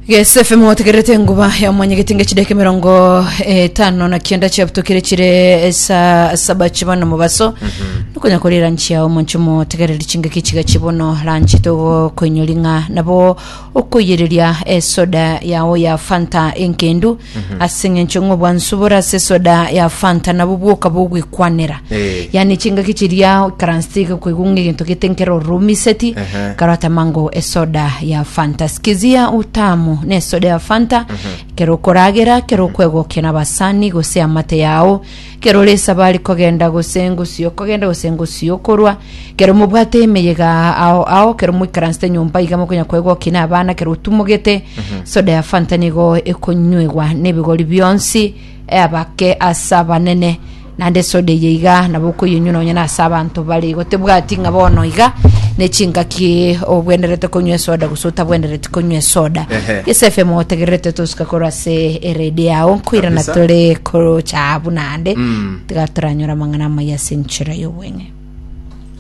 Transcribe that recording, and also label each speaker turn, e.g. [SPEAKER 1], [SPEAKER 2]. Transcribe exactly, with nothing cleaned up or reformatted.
[SPEAKER 1] Gese F M otegererete enguba ya mwanyegeti ngechideka emirongo etano na kianda chiabutokire chire esa saba chibono mobaso nokonya korira nchia omonche motegereri chingaki chiga chibono ranchi togokoinyori ng'a nabo okoiyereria esoda yao ya Fanta enkendu ase eng'encho ng'a obwansu bore ase esoda ya Fanta nabo bwoka bogwekwanera.
[SPEAKER 2] Eh.
[SPEAKER 1] Yani chingaki chiria oikaransete iga koigwa ng'a egento gete nkere orumiseti
[SPEAKER 2] Ehe.
[SPEAKER 1] karota mango esoda ya Fanta. Sikizia utamu ne esoda ya Fanta kero okoragera, kero okwegokia na abasani gose amate yao, kero ore esabari kogenda gose ngosio okogenda gose ngosio okorwa, kero mobwate emeyega ao ao, kero moikaransete nyomba iga mokonya kwegokia na abana, kero otumogete, soda ya Fanta nigo ekonywegwa nebigori bionsi abake ase abanene. Naende esoda eye iga nabo okoyenywa nonya na ase abanto bare igo tebwati ng'a bono iga ne chingaki obwenerete konywa esoda gose otabwenereti konywa esoda.
[SPEAKER 2] Ehe.
[SPEAKER 1] Gese F M otegererete tosuka korwa ase eredio yao nkoirana
[SPEAKER 2] Kabisa.
[SPEAKER 1] tore korocha abwo naende
[SPEAKER 2] Mm.
[SPEAKER 1] tiga toranyora amang'ana amaya ase enchera y'obweng'e.